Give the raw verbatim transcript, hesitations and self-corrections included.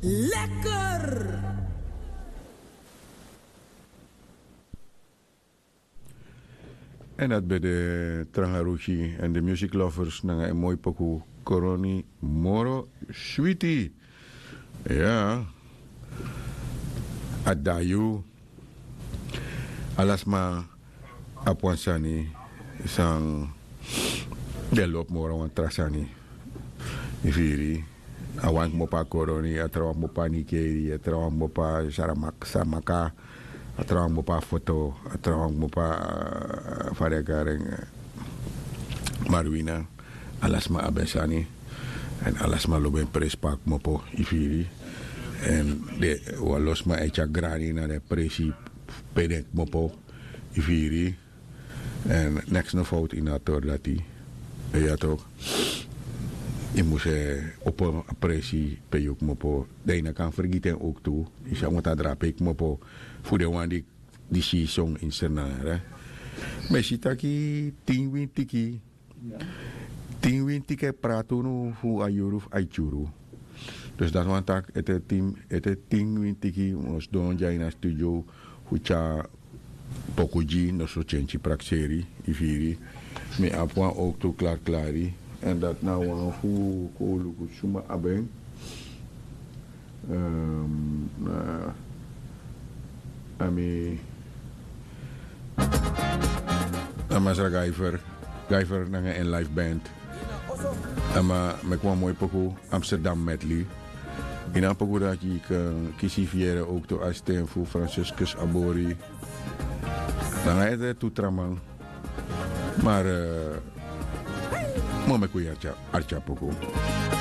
Lekker. En dat ben de Trangarushi en de Music Lovers nanga en moi poku Koroni Moro Switi. Ya. Adayu. Ala sma abi wan sani san den lobi moro wan tra sani. Yu firi? A wan kmopo a koroni, a trawan kmopo a nikeri, a trawan kmopo a saramaka, a trawan kmopo a foto, a trawan kmopo a, fa den e kari en, marwina. Ala sma abi en sani. Èn ala sma lobi en presi pe a kmopo, yu firi? Èn den wan lo sma e tyari grani na den presi pe den kmopo, yu firi? Èn neks no fowtu ini a tori dati. Ya tok. Yu mus e opo a presi pe yu kmopo. Dan yu no kan fergiti en owktu. Yu si a wanta drape yu kmopo fu den wan di, di si son ini Sranan. Mi e si taki tin wintiki. Tin wintiki e prati unu fu a yuru fu a e tyuru. Dus dati wani taki ete tin, ete tin wintiki mi o sidon dya ini a studio fu tyari poku gi noso tyentyi prakseri, yu firi. Mi abi wan owktu klariklari. Èn dati na wan fu kon luku suma abi en. Ehm, na, a mi, na masra Guyver, Guyver nanga en live band. A man meki wan moi poku, Amsterdam Medley. Ini a poku dati yu kan kisi fu yere owktu a sten fu Franciscus Abori. Nanga ete tu tra man. Maar, eh, mi o meki un yere arki a poku.